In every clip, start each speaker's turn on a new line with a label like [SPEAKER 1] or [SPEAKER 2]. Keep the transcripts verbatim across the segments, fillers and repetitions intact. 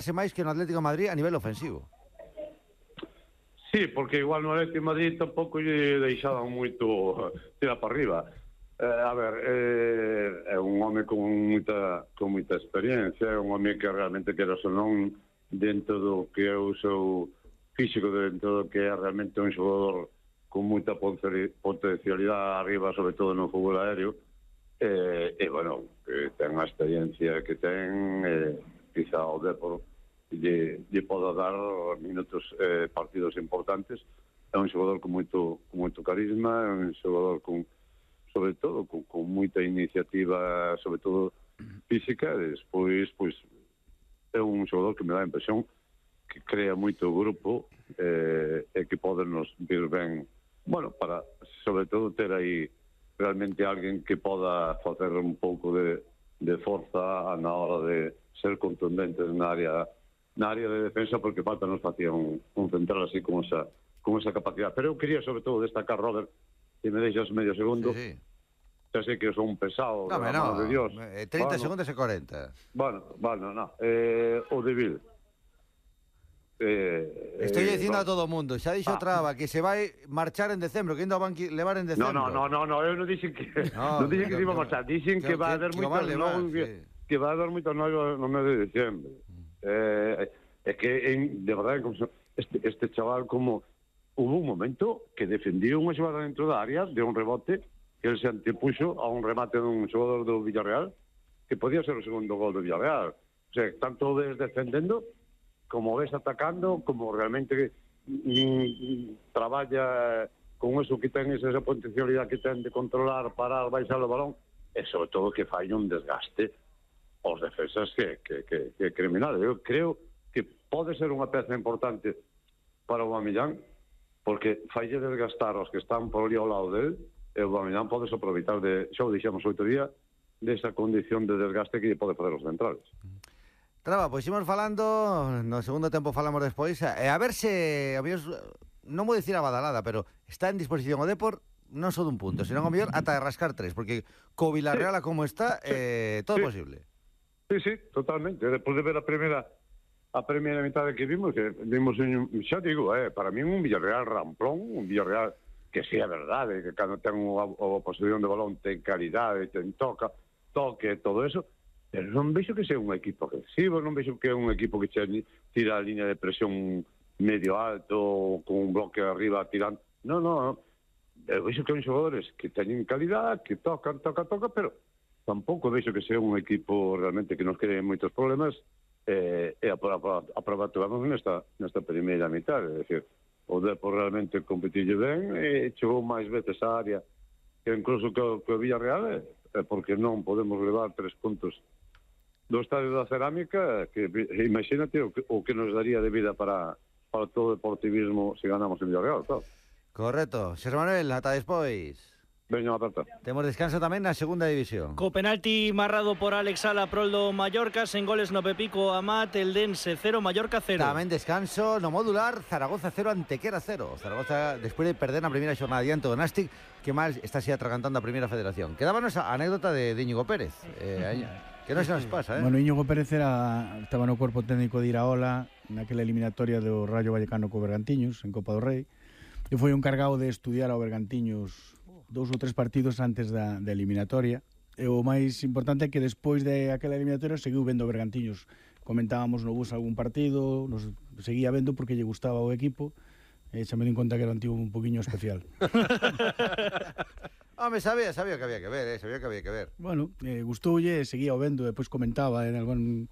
[SPEAKER 1] máis que no Atlético de Madrid a nivel ofensivo.
[SPEAKER 2] Sí, porque igual no Atlético de Madrid tampouco lle deixaban moito tirar para arriba. Eh, a ver, eh, é un home con moita, con moita experiencia, é un home que realmente quero ou non dentro do que é o seu físico, dentro do que é realmente un xogador con moita potencialidade arriba, sobre todo no fútbol aéreo, e, e bueno, que ten a experiencia que ten, eh, quizá o Depor lle, lle poda dar minutos, eh, partidos importantes. É un xogador con moito, con moito carisma, é un xogador con, sobre todo, con, con moita iniciativa, sobre todo física, e despois, pois, é un xogador que me dá a impresión que crea moito grupo, eh, e que pode nos vir ben, bueno, para, sobre todo, ter aí realmente alguén que poda facer un pouco de, de forza na hora de ser contundentes na área na área de defensa, porque falta nos facía un, un central así con esa, con esa capacidade. Pero eu quería sobre todo destacar, Robert, se me deixas medio segundo.
[SPEAKER 1] Sí, sí.
[SPEAKER 2] Xa sei que son un pesado,
[SPEAKER 1] no,
[SPEAKER 2] de
[SPEAKER 1] no,
[SPEAKER 2] de Dios.
[SPEAKER 1] treinta
[SPEAKER 2] bueno,
[SPEAKER 1] segundos e cuarenta.
[SPEAKER 2] Bueno, bueno, no. Eh, o de Vil.
[SPEAKER 1] Eh, Estoy eh, dicindo no. a todo o mundo, xa dixo
[SPEAKER 2] ah.
[SPEAKER 1] Traba que se vai marchar en decembro, que ainda van que levar en decembro.
[SPEAKER 2] No, no, no, no, eu non dixen que no, non dixen que, que se iba a marchar, dixen que, que va a haber moitos novos, sí. que va a haber moitos novos no mes de decembro. Mm. Eh, é que en, de verdade este, este chaval, como hubo un momento que defendiu unha xogada dentro da área de un rebote que ele se antepuxo a un remate dun xogador do Villarreal que podía ser o segundo gol do Villarreal. O sea, tanto ves defendendo como ves atacando, como realmente mm, traballa con eso que ten, esa potencialidade que ten de controlar, parar, baixar o balón, e sobre todo que fai un desgaste aos defensas que, que, que, que criminal. Eu creo que pode ser unha peza importante para o Aubameyang, porque falle desgastar aos que están por ali ao lado del, e o Aubameyang pode aproveitar de, xa o dixemos outro día, desa condición de desgaste que pode fazer os centrales.
[SPEAKER 1] Traba, pois imos falando, no segundo tempo falamos despois, e a ver se, a mellor, non vou dicir a badalada, pero está en disposición o Depor, non só dun punto, senón o mellor ata de rascar tres, porque co Villarreal a como está, eh, todo é
[SPEAKER 2] sí.
[SPEAKER 1] posible.
[SPEAKER 2] Sí, sí, totalmente. Despois de ver a primeira a primeira mitad que vimos, que vimos un, xa digo, eh, para mí un Villarreal ramplón, un Villarreal que sí é verdade, que cando ten a, a posición de balón ten calidade, ten toca, toque, todo eso. Pero non vexo que sea un equipo agresivo, non vexo que é un equipo que che tira a línea de presión medio alto, con un bloque arriba tirando. Non, non, eu vexo que son xogadores que teñen calidad, que tocan, tocan, tocan, pero tampouco vexo que sea un equipo realmente que nos cree moitos problemas, eh, e a prova tuvamos nesta, nesta primeira mitad, é dicir, o Depor realmente competille ben, e chegou máis veces a área que incluso que, que o Villarreal, é porque non podemos levar tres puntos do Estadio da Cerámica, que imagínate o que, o que nos daría de vida para, para todo o deportivismo se ganamos en Villarreal, claro.
[SPEAKER 1] Correcto. Xosé Manuel, ata despois.
[SPEAKER 2] Veña, aperta.
[SPEAKER 1] Temos descanso tamén na segunda división.
[SPEAKER 3] Co penalti marrado por Alex Sala proldo Mallorca, sen goles no Pepico Amat, Eldense cero, Mallorca cero.
[SPEAKER 1] Tamén descanso no modular, Zaragoza cero, Antequera cero. Zaragoza, despois de perder na primeira xornada diante do Nástic, que mal está así atragantando a primeira federación. Quedábanos a anécdota de, de Íñigo Pérez. Eh, que non se nos pasa, eh?
[SPEAKER 4] Bueno, Íñigo Pérez era, estaba no corpo técnico de Iraola naquela eliminatoria do Rayo Vallecano co Bergantiños en Copa do Rei, e foi un encargado de estudiar ao Bergantiños dous ou tres partidos antes da, da eliminatoria, e o máis importante é que despois de aquela eliminatoria seguiu vendo Bergantiños. Comentábamos no bus algún partido, nos seguía vendo porque lle gustaba o equipo, e xa me di conta que era un tío un poquinho especial.
[SPEAKER 1] Home, sabía, sabía que había que ver, eh, sabía que había que ver.
[SPEAKER 4] Bueno, eh, gustoulle, seguía o vendo, e depois comentaba en algún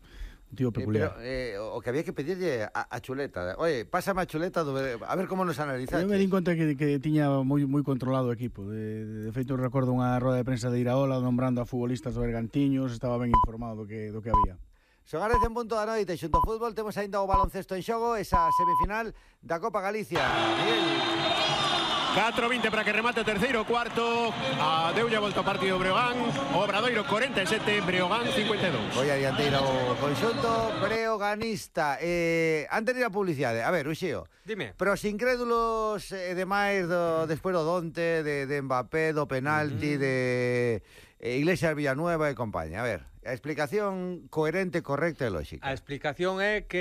[SPEAKER 4] un tío peculiar.
[SPEAKER 1] Eh, pero eh, o que había que pedirlle a, a Chuleta. Oye, pásame a Chuleta do, a ver como nos analizaste.
[SPEAKER 4] Eu me di conta que, que tiña moi moi controlado o equipo. De, de feito, recordo unha roda de prensa de Iraola nombrando a futbolistas do Bergantiños, estaba ben informado do que, do que había.
[SPEAKER 1] Son as dez en punto da noite, xunto ao fútbol, temos ainda o baloncesto en xogo, esa semifinal da Copa Galicia. Miguel.
[SPEAKER 5] catro vinte para que remate o terceiro cuarto. A deulle a volta o partido Breogán. O Obradoiro corenta e sete, Breogán cincuenta e dous.
[SPEAKER 1] Voy a dianteira o conxunto breoganista. Eh, antes de ir a publicidade, a ver, Uxío.
[SPEAKER 6] Dime.
[SPEAKER 1] Pero os incrédulos e eh, demais do, despois do Donte, de, de Mbappé, do penalti, uh -huh. de eh, Iglesias Villanueva e compañía. A ver, a explicación coherente, correcta e lógica.
[SPEAKER 6] A explicación é que